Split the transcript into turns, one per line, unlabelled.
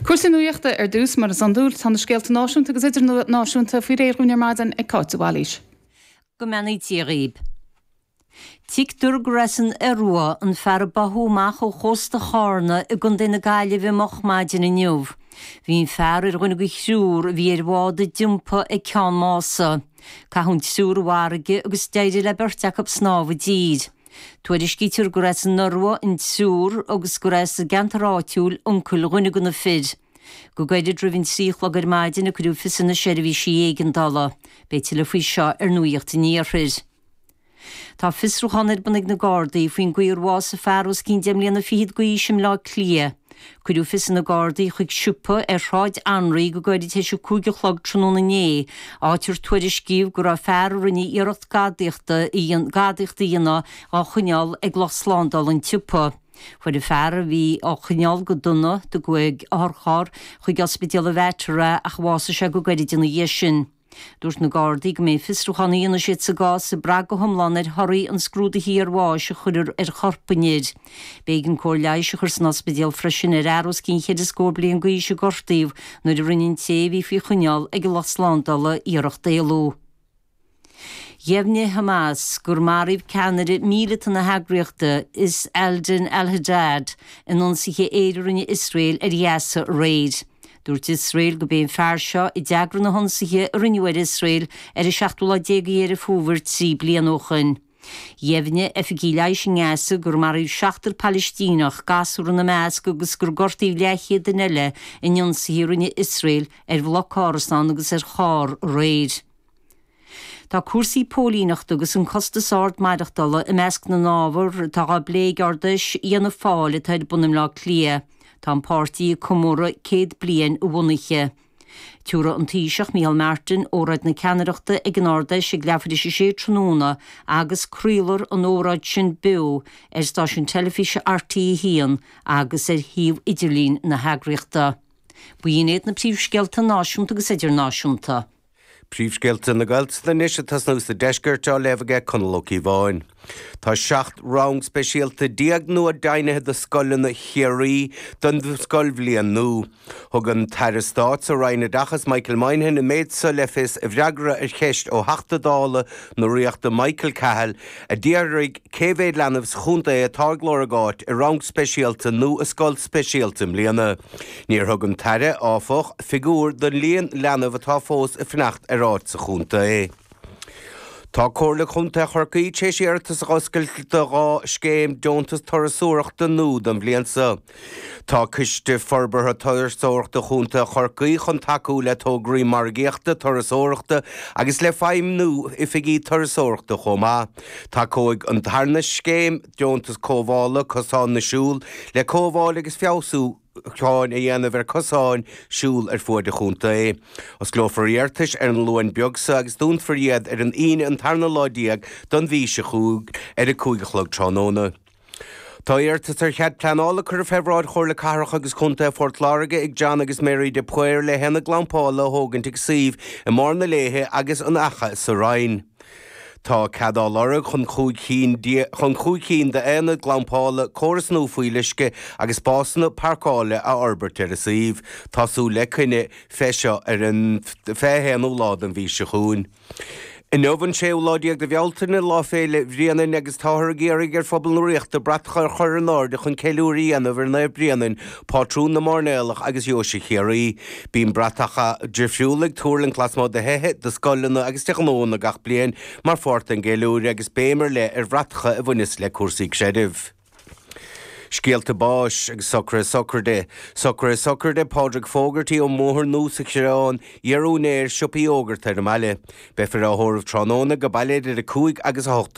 Cúrsaí nuachta ar dtús, mar is iondúil, tá na scéalta náisiúnta agus idirnáisiúnta faoi réir dhúinn ar maidin ag Cáit de Bhailís.
Go mbeannaí Dia dhaoib. Tuigtear gur as an Iorua an fear a báthadh amach ó chósta Chárna i gContae na Gaillimhe moch maidin inniu. Bhí an fear ar dhuine de thriúr a bhí ar bhád a d'iompaigh ag Ceann Mása. Caitheadh an triúr i bhfarraige agus d'éirigh le beirt acu snámh i dtír. Tuairiscítear gur as an Iorua an triúr agus gur as an gceantar áitiúil uncail dhuine de na fir. Go gairid roimh an 3 a chlog ar maidin a cuireadh fios ar na seirbhísí éigeandála. Beidh tuilleadh faoi seo ar Nuacht an Iarthair. Tá fiosrúchán ar bun ag na Gardaí faoin gcaoi ar bhásaigh fear os cionn deich mbliana fichead d'aois i mBleá Cliath. Cuireadh fios ar na Gardaí chuig siopa ar Shráid Anraí go gairid tar éis a 5 a chlog tráthnóna inné, áit ar tuairiscíodh go raibh fear a rinne iarracht gadaíochta a gadaíocht a dhéanamh á choinneáil ag lucht slándála an tsiopa. Fuair an fear a bhí á choinneáil go dona, tugadh ag otharcharr chuig Ospidéal an Mhater é ach bhásaigh sé go gairid ina dhiaidh sin. Dúirt na Gardaí go mbeidh an fiosrúchán a dhéanfaidh siad sa gcás ag brath go hiomlán ar thorthaí an scrúdaithe iarbháis a chuirfear ar chorp an fhir. B'éigean cóir leighis a chur san ospidéal freisin ar fhear os cionn cheithre scór bliain d'aois a gortaíodh nuair a rinne an té a bhí faoi choinneáil ag an lucht slándála iarracht éalú. Dheimhnigh Hamas gur maraíodh ceannaire míleata na heagraíochta, Izz al-Din al-Haddad, in ionsaithe aeir a rinne Iosrael ar Ghaza aréir. Dúirt Iosrael gurb é an fear seo a d'eagraigh na hionsaithe a rinneadh ar Iosrael ar an seachtú lá déag de Dheireadh Fómhair 3 bliana ó shoin. Dheimhnigh oifigigh leighis i nGaza gur maraíodh seachtar Palaistíneach, gasúr ina measc, agus gur gortaíodh leathchéad duine eile in ionsaithe a rinne Iosrael ar bhloc árasán agus ar charr aréir. Tá cúrsaí póilíneachta agus an costas ard maireachtála i measc na n-ábhar atá á bplé ag Ard-Fheis Fhianna Fáil atá ar bun i mBleá Cliath. Tá an páirtí ag comóradh 100 bliain a bhunaithe. Tabharfaidh an Taoiseach Micheál Martin óráid na ceannaireachta ag an Ard-Fheis ag leathuair tar éis a sé tráthnóna agus craolfar an óráid sin beo ar stáisiún teilifíse RTÉ 1 agus ar shuíomh idirlín na heagraíochta. B'in iad na príomhscéalta náisiúnta agus idirnáisiúnta.
Príomhscéalta na Gaeltachta anois ag tosnú sa deisceart á léamh aige Conall Ó Cíobháin. Tá 17 rang speisialta nua deimhnithe do scoileanna Chiarraí don scoilbhliain nua. Thug an tAire Stáit sa Roinn Oideachais Michael Moynihan an méid seo le fios i bhfreagra ar cheist ó Theachta Dála na Ríochta Michael Cahill a d'fhiafraigh cé mhéad leanbh sa chontae atá ag lorg áit i rang speisialta nó i scoil speisialta i mbliana. Níor thug an tAire, áfach, figiúr don líon leanbh atá fós ag fanacht ar áit sa chontae. Tá Comhairle Contae Chorcaí tar éis iarratas a oscailt do dhá scéim deontas turasóireachta nua don bhliain seo. Tá Coiste Forbartha Turasóireachta Chontae Chorcaí chun tacú le tograí margaíochta turasóireachta agus le feidhmiú oifigí turasóireachta chomh maith. Tacóidh an tarna scéim deontas cothabhála cosán na siúl le cothabháil agus feabhsúcháin a dhéanamh ar chosáin siúil ar fuaid an chontae. Osclófar iarratais ar an Luan beag seo agus dúnfar iad ar an Aoine an tarna lá don mhí seo chugainn ar a 5 a chlog tráthnóna. Tá iarratas ar chead pleanála curtha fé bhráid Chomhairle Cathrach agus Contae Phort Láirge ag John agus Mary de Paor le haonad glampála a thógaint ag suíomh i mBarr na Léithe agus an Fhaiche sa Rinn. Tá cead á lorg chun 5 chinn chun 5 cinn d'aonaid glampála, córas nua fuíolluisce agus spásanna páirceála a fhorbairt ar an suíomh. Tá súil le coinne fé seo ar an 21ú lá den mhí seo chugainn. Inniu an séú lá déag de Bhealtaine, Lá Féile Bhréanainn agus táthar ag iarraidh ar phobal na Ríochta bratacha a chur in airde chun ceiliúradh a dhéanamh ar Naomh Bréanainn, pátrún na mairnéalach agus Dheoise Chiarraí. Bíonn bratacha difriúla ag tuirlingt lasmuigh de thithe, de scoileanna agus de ghnóanna gach bliain mar pháirt den gceiliúradh agus béim ar leith ar bhratacha a bhaineas le cúrsaí creidimh. Scéalta báis agus socruithe sochraide. Socruithe sochraide Pádraig Fogarty ón mBóthar Nua sa Choireán, iar-úinéir siopa iógart ar an mbaile. Beifear á thórramh tráthnóna go baile idir 5 agus 8.